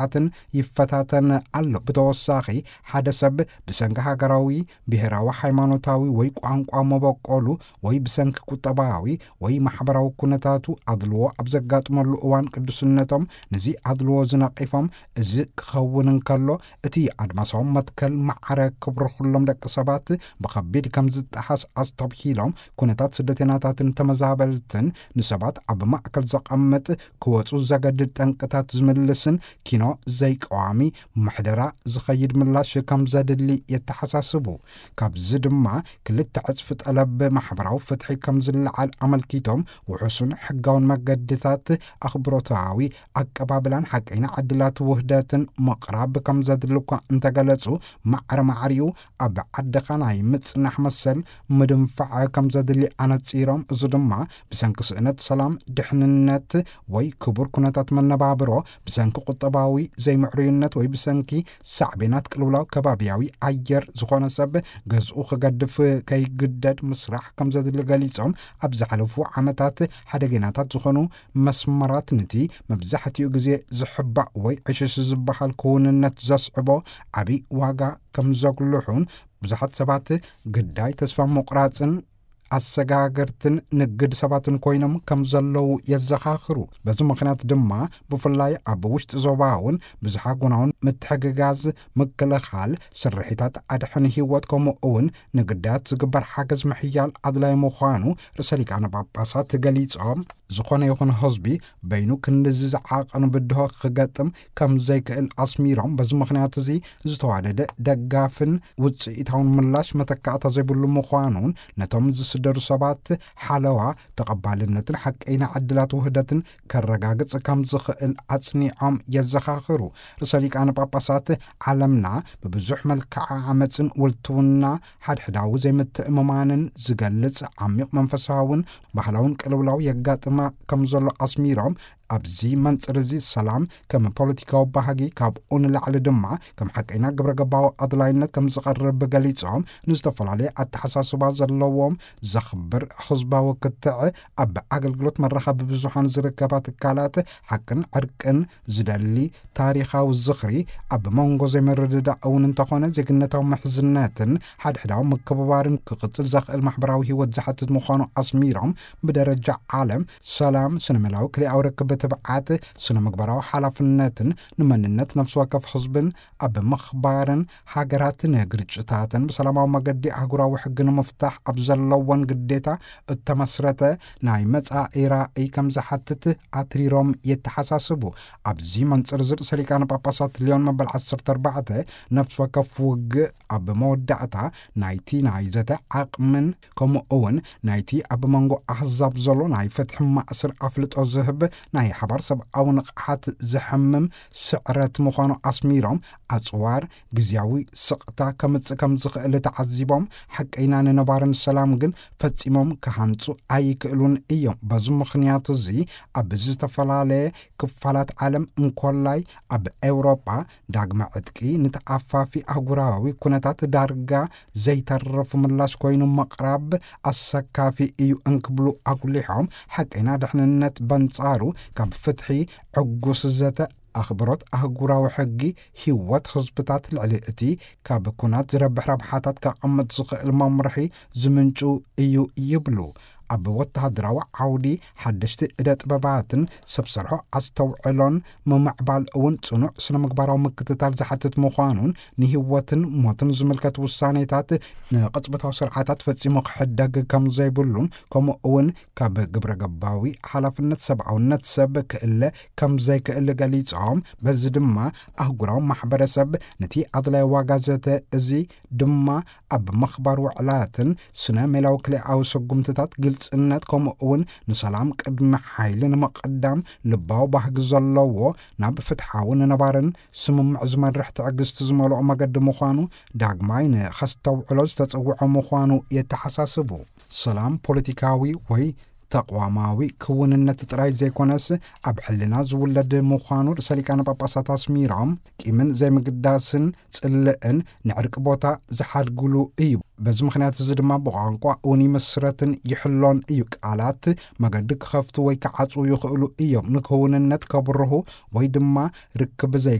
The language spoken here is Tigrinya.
ስርዓትን ይፈታተን ኣሎ። ብተወሳኺ፣ ሓደ ሰብ ብሰንኪ ሃገራዊ፣ ብሄራዊ፣ ሃይማኖታዊ ወይ ቋንቋ መበቆሉ ወይ ብሰንኪ ቁጠባዊ ወይ ማሕበራዊ ኩነታቱ ኣድልዎ ኣብ ዘጋጥመሉ እዋን፣ ቅዱስነቶም ነዚ ኣድልዎ ዝነቒፎም፣ እዚ ክኸውን እንከሎ፣ እቲ ኣድማሳዊ መትከል ማዕረ ክብሪ ኩሎም ደቂ ሰባት ብኸቢድ ከም ዝጠሓስ ኣስተብሂሎም፣ ኩነታት ስደተኛታትን ተመዛበልትን ንሰባት ኣብ ማእከል ዘቐምጥ፣ ክወጹ ዘገድድ ጠንቅታት ዝምልስን ኪኖ ዘይቀዋሚ ምሕደራ ዝኸይድ ምላሽ ከም ዘድሊ የተሓሳስቡ። ካብዚ ድማ ክልተ ዕጽፊ ጠለብ ማሕበራዊ ፍትሒ ከም ዝለዓል ኣመልኪቶም፣ ውሑስን ሕጋውን መገድታት ኣኽብሮታዊ ኣቀባብላን ሓቀይና ዕድላት ውህደትን ምቕራብ ከም ዘድሊ እኳ እንተገለጹ፣ ማዕረ ማዕሪኡ ኣብ ዓድኻ ናይ ምጽናሕ መሰል ምድንፋዕ ከም ዘድሊ ኣነጺሮም፣ እዚ ድማ ብሰንኪ ስእነት ሰላም፣ ድሕንነት ወይ ክቡር ኩነታት መነባብሮ፣ ብሰንኪ ቁጠባዊ ዘይምዕሩይነት ወይ ብሰንኪ ሳዕቤናት ቅልውላው ከባቢያዊ ኣየር ዝኾነ ሰብ ገዝኡ ክገድፍ ከይግደድ ምስራሕ ከም ዘድሊ ገሊጾም፣ ኣብ ዝሓለፉ ዓመታት ሓደገኛታት ዝኾኑ መስመራት፣ ነቲ መብዛሕትኡ ግዜ ዝሕባእ ወይ ዕሽሽ ዝበሃል ክውንነት ዘስዕቦ ዓቢ ዋጋ ከም ዘጉልሑን፣ ብዙሓት ሰባት ግዳይ ተስፋ ምቑራጽን ኣሰጋገርትን ንግድ ሰባትን ኮይኖም ከም ዘለዉ የዘኻኽሩ። በዚ ምኽንያት ድማ፣ ብፍላይ ኣብ ውሽጢ ዞባ እውን፣ ብዝሓ ጎናውን ምትሕግጋዝ፣ ምክልኻል፣ ስርሒታት ኣድሕን ህይወት፣ ከምኡ እውን ንግዳያት ዝግበር ሓገዝ ምሕያል ኣድላይ ምዃኑ ርእሰ ሊቃነ ጳጳሳት ገሊጾም፣ ዝኾነ ይኹን ህዝቢ በይኑ ክንድዚ ዝዓቐኑ ብድሆ ክገጥም ከም ዘይክእል ኣስሚሮም፣ በዚ ምኽንያት እዚ ዝተዋደደ ደጋፍን ውጽኢታውን ምላሽ መተካእታ ዘይብሉ ምዃኑን፣ ነቶም ዝስደዱ ሰባት ሓለዋ፣ ተቐባልነትን ሓቀይና ዕድላት ውህደትን ከረጋግጽ ከም ዝኽእል ኣጽኒዖም የዘኻኽሩ። ርእሰ ሊቃነ ጳጳሳት፣ ዓለምና ብብዙሕ መልክዓ ዓመጽን ውልትውና ሓድሕዳዊ ዘይምትእምማንን ዝገልጽ ዓሚቕ መንፈሳውን ባህላውን ቅልውላው የጋጥማ ከም ዘሎ ኣስሚሮም፣ ኣብዚ መንጽር እዚ ሰላም ከም ፖለቲካዊ ባህጊ፣ ካብኡ ንላዕሊ ድማ ከም ሓቀይና ግብረ ገባዊ ኣድላይነት ከም ዝቐርብ ገሊጾም፣ ንዝተፈላለየ ኣተሓሳስባ ዘለዎም ዘኽብር ህዝባዊ ክትዕ፣ ኣብ ኣገልግሎት መራኸቢ ብዙሃን ዝርከባ ትካላት ሓቅን ዕርቅን ዝደሊ ታሪኻዊ ዝኽሪ፣ ኣብ መንጎ ዘይምርድዳእ እውን እንተኾነ፣ ዜግነታዊ ምሕዝነትን ሓድሕዳዊ ምክብባርን ክቕጽል ዘኽእል ማሕበራዊ ህይወት ዝሓትት ምዃኑ ኣስሚሮም፣ ብደረጃ ዓለም ሰላም፣ ስነ-ሜላዊ ክልኣዊ ርክብ፣ ትብዓት፣ ስነ-ምግባራዊ ሓላፍነትን ንመንነት ነፍሲ ወከፍ ህዝብን ኣብ ምኽባርን ሃገራት ንግርጭታትን ብሰላማዊ መገዲ ኣህጉራዊ ሕጊ ንምፍታሕ ኣብ ዘለወን ግዴታ እተመስረተ ናይ መጻኢ ራእይ ከም ዝሓትት ኣትሪሮም የተሓሳስቡ። ኣብዚ መንጽር እዚ ርእሰ ሊቃነ ጳጳሳት ሊዮን መበል ዓሰርተ ኣርባዕተ፣ ነፍሲ ወከፍ ውግእ ኣብ መወዳእታ ናይቲ ናይ ዘተ ዓቕምን፣ ከምኡ እውን ናይቲ ኣብ መንጎ ኣህዛብ ዘሎ ናይ ፍትሒ ማእስር ኣፍልጦ ዝህብ ናይ ሓባር ሰብኣዊ ንቕሓት ዘሐምም ስዕረት ምዃኑ ኣስሚሮም፣ ኣጽዋር ግዝያዊ ስቕታ ከምጽእ ከም ዝኽእል ተዓዚቦም፣ ሓቀይና ንነባርን ሰላም ግን ፈጺሞም ክሃንጹ ኣይክእሉን እዮም። በዚ ምኽንያት እዚ፣ ኣብ ዝተፈላለየ ክፋላት ዓለም እንኮላይ ኣብ ኤውሮጳ፣ ዳግመ ዕጥቂ ንተኣፋፊ ኣህጉራዊ ኩነታት ዳርጋ ዘይተርፍ ምላሽ ኮይኑ ምቕራብ ኣሰካፊ እዩ እንክብሉ ኣጉሊሖም፣ ሓቀይና ድሕንነት በንጻሩ ካብ ፍትሒ፣ ዕጉስ ዘተ፣ ኣኽብሮት ኣህጉራዊ ሕጊ፣ ህይወት ህዝብታት ልዕሊ እቲ ካብ ኩናት ዝረብሕ ረብሓታት ከቐምጥ ዝኽእል መምርሒ ዝምንጩ እዩ ይብሉ። ኣብ ወተሃደራዊ ዓውዲ፣ ሓደሽቲ እደ ጥበባትን ሰብ ሰርሖ ኣስተውዕሎን ምምዕባል እውን ጽኑዕ ስነ ምግባራዊ ምክትታል ዝሓትት ምዃኑን፣ ንህይወትን ሞትን ዝምልከት ውሳኔታት ንቕጽበታዊ ስርዓታት ፈጺሙ ክሕደግ ከም ዘይብሉን፣ ከምኡ እውን ካብ ግብረ ገባዊ ሓላፍነት ሰብኣውነት ሰብ ክእለ ከም ዘይክእል ገሊጾም፣ በዚ ድማ ኣህጉራዊ ማሕበረሰብ ነቲ ኣድላይ ዋጋ ዘተ እዚ ድማ ኣብ ምኽባር ውዕላትን ስነ ሜላዊ ክልኣዊ ስጉምትታት ግልጽነት፣ ከምኡ እውን ንሰላም ቅድሚ ሓይሊ ንምቕዳም ልባዊ ባህጊ ዘለዎ፣ ናብ ፍትሓዊ ንነባርን ስምምዕ ዝመርሕ ትዕግስቲ ዝመልኦ መገዲ ምዃኑ ዳግማይ ንኸስተውዕሎ ዝተጸውዖ ምዃኑ የተሓሳስቡ። ሰላም ፖለቲካዊ ወይ ተቕዋማዊ ክውንነት ጥራይ ዘይኮነስ፣ ኣብ ሕልና ዝውለድ ምዃኑ ርእሰ ሊቃነ ጳጳሳት ኣስሚሮም፣ ቂምን ዘይምግዳስን ጽልእን ንዕርቂ ቦታ ዝሓድግሉ እዩ። በዚ ምኽንያት እዚ ድማ ብቋንቋ እውን ይምስረትን ይሕሎን እዩ። ቃላት መገዲ ክኸፍቱ ወይ ክዓጽዉ ይኽእሉ እዮም። ንክውንነት ከብርሁ ወይ ድማ ርክብ ዘይከ